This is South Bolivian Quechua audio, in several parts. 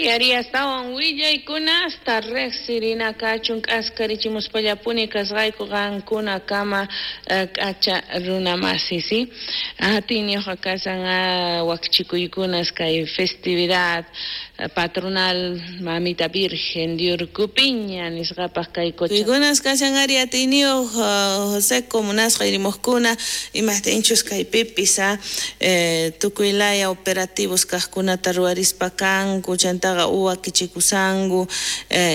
Ari, astawan willaykunasta riqsirina kachun k'askarichimuspallapuni kasqayku qankunakama k'acha runamasi, ¿sí? Atiyniyuqqa kashan wakchikuykunas kay festividad patronal Mamita Virgen de Urcupiña nisqapaq kay Cocha. Kuykunas kashan ari atiyniyuq José munasqa irimuqkuna imajtinchus kaypipis tukuy laya operativos kaqkunata ruwarispa kanku chantaqa uwakichikusanku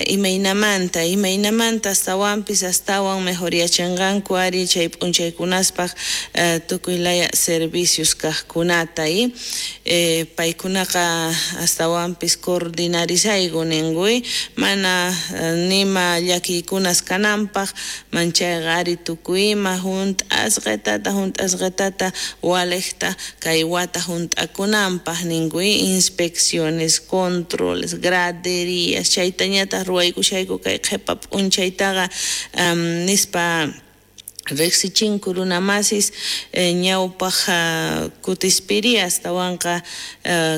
imaynamanta astawanpis astawan mejoriyachinqanku ari chay p'unchaykunaspaq tukuy laya servicios kaqkunata y paykunaqa astawanpis coordinarisayku ninku mana nima llakiykunas kananpaq manchayqa ari tukuy ima hunt'asqitata waliqta kay wata hunt'akunanpaq ninku inspecciones, controles, graderías chaytañataq ruwaykushayku kay qhipa p'unchaytaqa nispa riqsichinku runamasis ñawpaq kutispiri astawanqa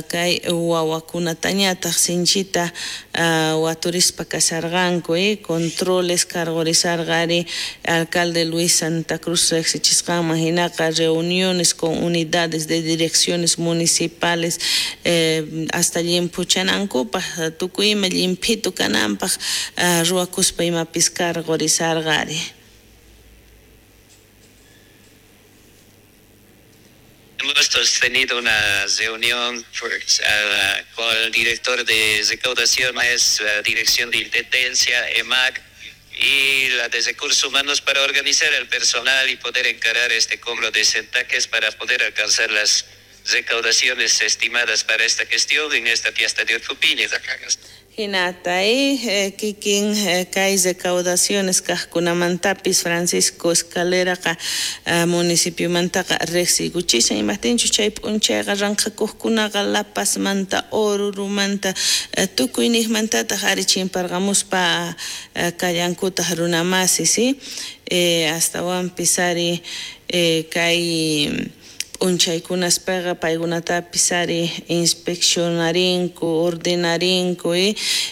kay wawakunatañataq sinchita waturispa kasharqanku controles cargorisarqa ari alcalde Luis Santa Cruz riqsichisqanman hinaqa reuniones con unidades de direcciones municipales hasta llimphuchanankupaq tukuy ima llimphitu kananpaq ruwakuspa imapis cargorisarqa ari. Hemos tenido una reunión con el director de recaudaciones, la dirección de intendencia, EMAC, y la de recursos humanos para organizar el personal y poder encarar este cobro de centaques para poder alcanzar las recaudaciones estimadas para esta gestión en esta fiesta de Urcupiña. Hinata kikin kay recaudaciones kaqkunamantapis Francisco Escaleraqa municipiomantaqa riqsiykuchishan imajtinchus chay p'unchayqa ranqhakuqkunaqa La Pazmanta, Orurumanta tukuy niqmantataq ari chimparqamuspa kallankutaq runamasi, ¿sí? Astawanpis ari kay p'unchaykunaspaqa paykunatapis ari inspeccionarinku, ordenarinku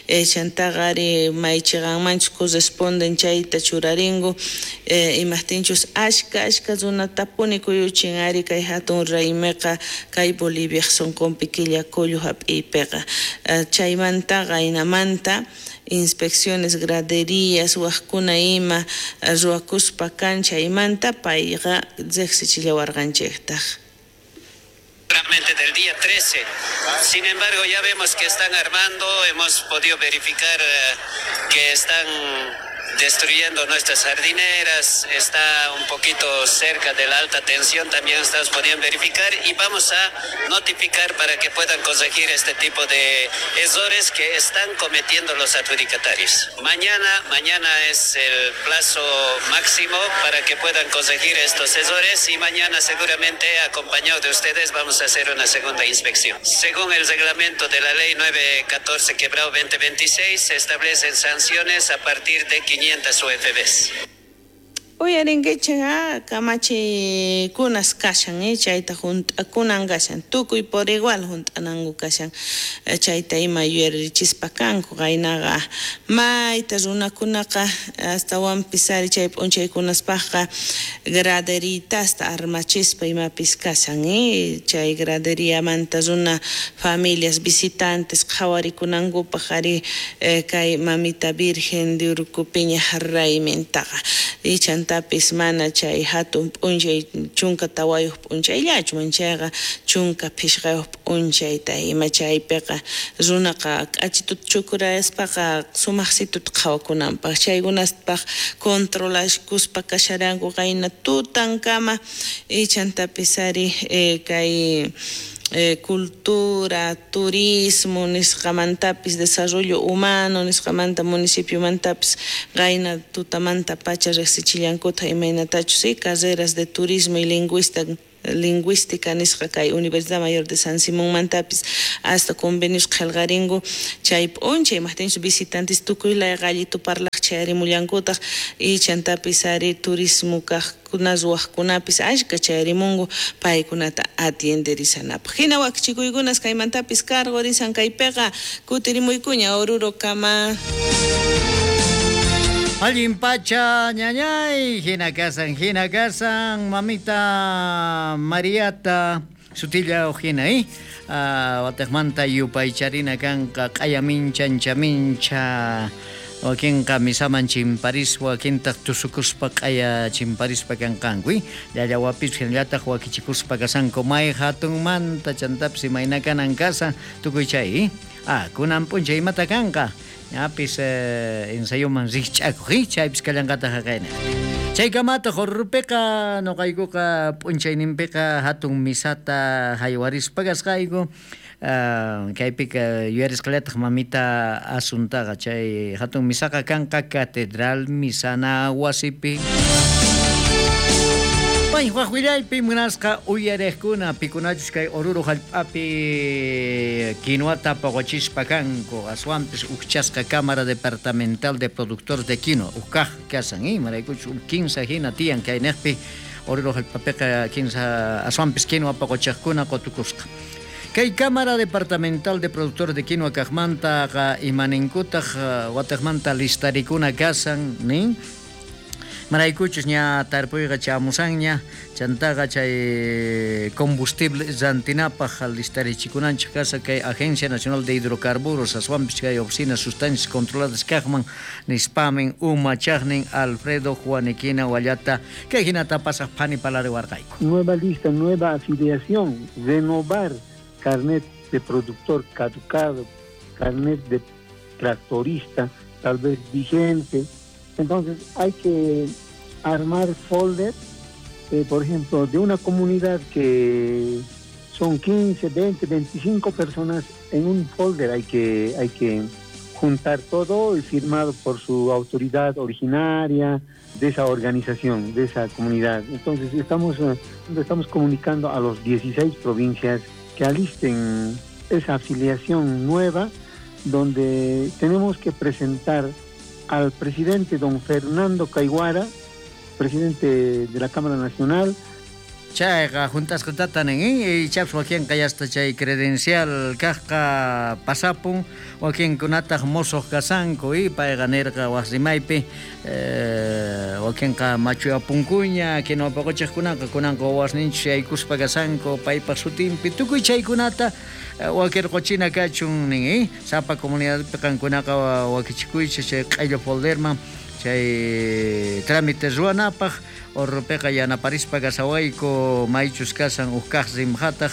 chantaqa ari maychiqanmanchus corresponden chayta churarinku imajtinchus ashka runatapuni kuyuchin ari kay hatun raymiqa kay Boliviaq sunqunpi killa kullu hap'iypiqa chaymantaqa hinamanta inspecciones, graderías, waqkuna ima ruwakuspa kan chaymanta payqa riqsichillawarqanchiktaq. Del día 13. Sin embargo, ya vemos que están armando, hemos podido verificar que están destruyendo nuestras jardineras, está un poquito cerca de la alta tensión, también estamos pudiendo verificar y vamos a notificar para que puedan corregir este tipo de errores que están cometiendo los adjudicatarios. Mañana es el plazo máximo para que puedan corregir estos errores y mañana seguramente, acompañado de ustedes, vamos a hacer una segunda inspección. Según el reglamento de la ley 914-2026, se establecen sanciones a partir de 500 UFBs. Uyarinkichik kamachikunas kashan chayta hunt'akunan kashan tukuy por igual hunt'ananku kashan chayta ima yuyarichispa kanku qaynaqa mayta runakunaqa astawanpis ari chay p'unchaykunaspaqqa graderitasta armachispa imapis kashan chay graderiamanta runa familias visitantes qhawarikunankupaq ari kay Mamita Virgen de Urcupiña raymintaqa y chantapis mana chay hatun p'unchay 14 p'unchayllachu manchayqa 15 p'unchayta ima chaypiqa runaqa k'achituta chukurayaspaqa sumaqsituta qhawakunanpaq chaykunaspaq controlaskuspa kasharanku qayna tutankama y chantapis ari kay cultura, turismo nisqamantapis desarrollo humano nisqamanta municipio-mantapis qayna tutamanta pacha riqsichillankuta imaynatachus carreras de turismo y lingüista Lingüística nisqa kay Universidad Mayor de San Simonmantapis hasta convenios qhelqarinku chay p'unchay, imajtinchus visitantes tukuy laya qallitu parlaq chayarimullankutaj y chantapis ari turismo kaqkuna ruwaqkunapis ashka chayarimunku paykunata atienderisanapaq. Hina wakichikuykunas kaymantapis karqurisan kaypiqa kutirimuykuña Oruro kama. Allin pacha ñañay, hina kasan, mamita Mariata sutilla hina, watejmanta yupaycharina kanqa q'aya mincha mincha wakinqa misaman chimparispa wakintaq tusukuspa q'aya chimparispa kanqanku, llallawapis hinallataq wakichikuspa kasanku may hatunmanta chantapis imayna kanan kasan tukuy chay, kunan p'unchay imata kanqa ñapis ensayoman rikch'akuq, chaypis kallanqataq haqayna. Chaykamataq Orurupiqa nuqaykuqa p'unchayninpiqa hatun misata haywarispa kasqayku, kaypiqa yuyarisqallataq mamita Asuntaqa chay hatun misaqa kanqa Catedral Misana wasipi. Waj willaypi munasqa uyariqkuna pikunachus kay Oruro hallp'api quinuata poqochispa kanku aswanpis ujchasqa Cámara Departamental de Productores de Quinoa ujkaj kasan, imaraykuchus uj kinsa hina tiyan kayniqpi Oruro hallp'apiqa kinsa aswanpis quinoa poqochiqkuna qutukusqa. Kay Cámara Departamental de Productores de Quinoa kaqmantaqa imaninkutaq wataqmanta listarikuna kasan nin. Maraykuchus ña tarpuyqa chamusanña chantaqa chay combustible rantinapaq listarichikunanchik kasa kay Agencia Nacional de Hidrocarburos aswanpis kay oficina sustancias controladas kaqman nispamin umachaqnin Alfredo Juaniquina wallata kay hinata pasaq phani palariwarqayku. Nueva lista, nueva afiliación, renovar carnet de productor caducado, carnet de tractorista tal vez vigente. Entonces hay que armar folder, por ejemplo, de una comunidad que son 15, 20, 25 personas en un folder hay que juntar todo y firmado por su autoridad originaria de esa organización, de esa comunidad. Entonces estamos comunicando a los 16 provincias que alisten esa afiliación nueva, donde tenemos que presentar al presidente don Fernando Caiguara, presidente de la Cámara Nacional. Chayqa juntasqa tatanin, chaps wakinqa yasta chay credencial kaqqa pasapun, wakinkunataq mosoq kasanku, payqa nirqa waq rimaypi, wakinqa machuyapunkuña, quinua poqochiqkunaqa kunanqa wawasninchus yaykuspa kasanku paypaq sutinpi, tukuy chaykunata wakirquchina kachun nin, sapa comunidadpi qankunaqa wakichikuychis chay q'ello folderman chay trámite ruwanapaq. Orrupiqa yanaparispa kasawayku maychus kasan uj kaq rimqataq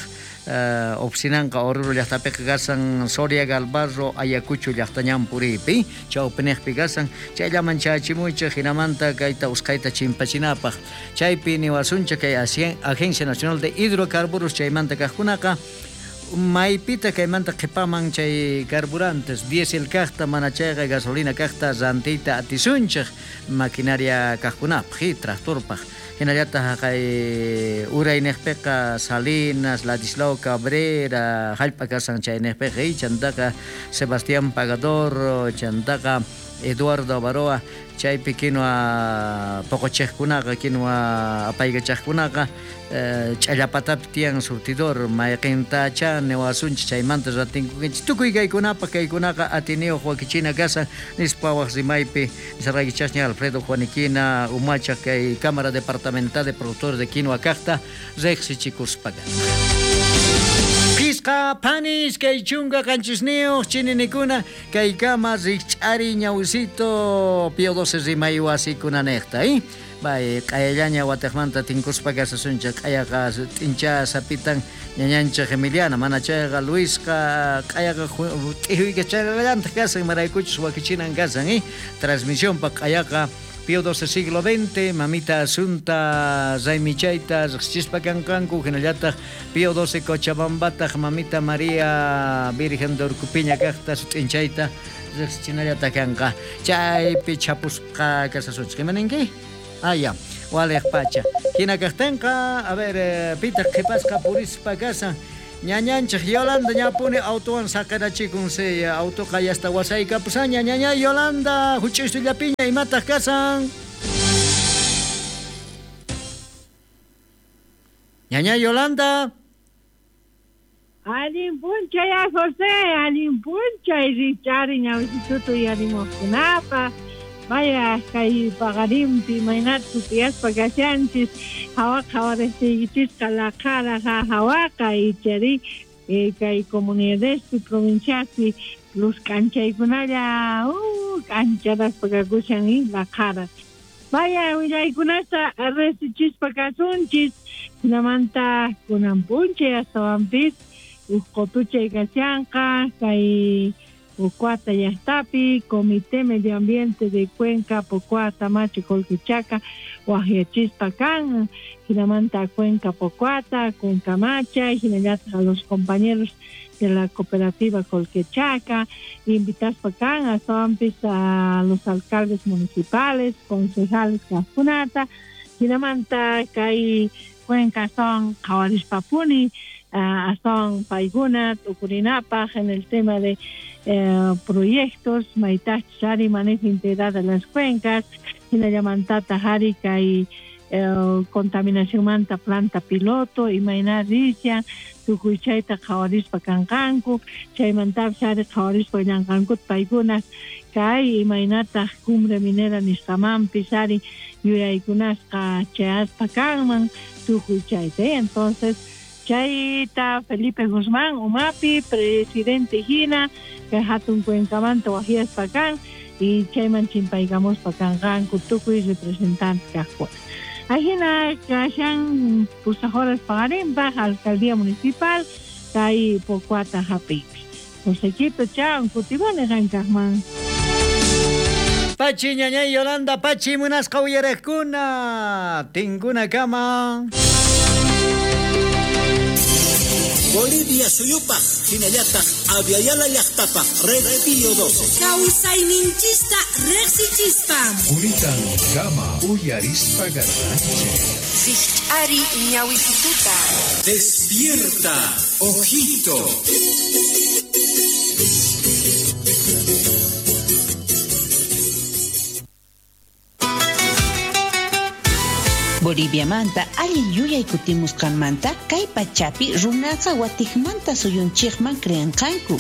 oficinanqa Oruro llaqtapiqa kasan Soria Galvarro Ayacucho llaqtañan puriypi chawpiniqpi kasan chayllaman chayachimuychik hinamanta kayta usqhayta chimpachinapaq chaypi niwasunchik kay Agencia Nacional de Hidrocarburos chaymanta kaqkunaqa maypita kaymanta qhipaman chay carburantes diésel kaqta mana chayqa gasolina kaqta rantiyta atisunchik maquinaria kaqkunapaq tractorpaq hinallataq kay urayniqpiqa Salinas, Ladislao Cabrera hallp'a kasan chayniqpiqa chantaqa Sebastián Pagador chantaqa Eduardo Avaroa chaypi quinua poqochiqkunaqa quinua apaykachaqkunaqa ch'allapatapi tiyan surtidor mayqintacha niwasunchik chaymanta ratinkukinchik tukuy kaykunapaq kaykunaqa atiniyuq wakichina kasan nispa waq rimaypi nisarqaykichasña Alfredo Juaniquina umachaq kay Cámara Departamental de Productores de Quinoa kaqta riqsichikuspaqa. Pisqa panis kay chunka qanchisniyuq chininikuna kaykama rikch'ari ñawisito Pío XII rimay wasikunanejta, Bay q'ayallaña wataqmanta tinkuspa kasasunchik q'ayaqa t'incha sapitan ñañanchik Emiliana mana chayqa Luisqa q'ayaqa t'ijuykachayrallantaq kasan imaraykuchus wakichinan kasan, transmisionpaq q'ayaqa Pío XII siglo XX, mamita Asunta Raymichayta riqsichispa kanqanku hinallataq Pío XII Cochabambataq mamita María Virgen de Urcupiña kaqta sut'inchayta riqsichinallata kanqa chaypi chapusqa kasasunchik imaninki? Ya. Waliq pacha. Hina kaqtinqa, a ver, pitaq qhipasqa purispa kasan. Ñañanchik Yolanda ñapuni autowan saqirachikun si autoqa yasta wasaykapusaña. Ñaña Yolanda, huch'uysullapiña imataq kasan. Ñaña Yolanda. Allin p'unchay a José, allin p'unchay richari ñawisituta uyarimuqkunapaq. Vaya kay paqarinpi imaynata sutiyaspa kashanchis hawaqa hawariykinchisqa laqhara hawaqa ichari kay comunidadespi provinciaspi luz k'anchaykunalla k'ancharaspa kakushan laqhara. Vaya willaykunata resichispa kasunchis hinamanta kunan p'unchay astawanpis uj qotuchay kashanqa kay Pocoata llaqtapi, Comité Medio Ambiente de Cuenca, Pocoata, Machi, Colquechaca, waqyachispa kan, hinamanta Cuenca Pocoata, Cuenca Macha, hinallataq a los compañeros de la cooperativa Colquechaca, invitaspa kan, astawanpis a los alcaldes municipales, concejales kaqkunata, hinamanta kay Cuenca son qhawarispapuni, son paykuna tukurinapaq en el tema de proyectos, maytachus ari manejo integral de las cuencas, hinallamantata ari kay contaminacionmanta planta piloto, imayna rishan, tukuy chayta qhawarispa kanqanku, chaymantapis ari qhawarispa llanqankuta paykuna kay imaynataq cumbre minera nisqamanpis ari yuyaykunasqa chayaspa kanman tukuy chayta. Entonces chayta Felipe Guzmán umapi presidente hina kay hatun cuencamanta waqyaspa kan y chayman chimpaykamuspa kanqanku tukuy representante kaqkuna. Ajina kashan pusaq horas paqarinpaq alcaldía municipal kay Pocoata hap'iypi. Josequito chao kutimuni qankaqman. Pachi ñañay Yolanda, pachi munasqa uyariqkuna, tinkuna kama. Bolivia suyupaq hinallataq Aviala llaqtapaq Red Pío 12. Kawsayninchista riqsichispa. Kunitan kama uyarispa garranchik. Rijch'ari ñawisituta. Despierta, ojito. Boliviamanta allin yuyay kutimusqanmanta kay pachapi runaqa watiqmanta suyunchikman creanqanku.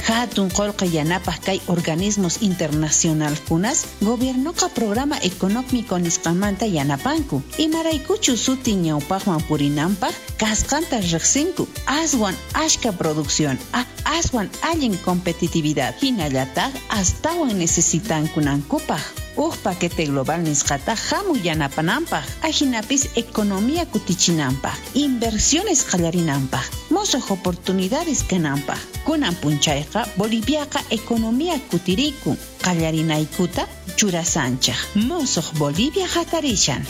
Hatun qullqi yanapaq kay organismos internacionalkunas gobiernoqa programa económico nisqanmanta yanapanku. Imaraykuchu sutin ñawpaqman purinanpaq kasqanta riqsinku. Aswan ashka producción, aswan allin competitividad hinallataq astawan necesitankunankupaq. Uj paquete global nisqata hamuy yanapananpaq, ajinapis economía kutichinanpaq, inversiones qallarinanpaq, mosuq oportunidades kananpaq. Kunan punchayqa Boliviaqa economía kutirikun, qallarinaykuta churasanchaq. Mosuq Bolivia hatarishan.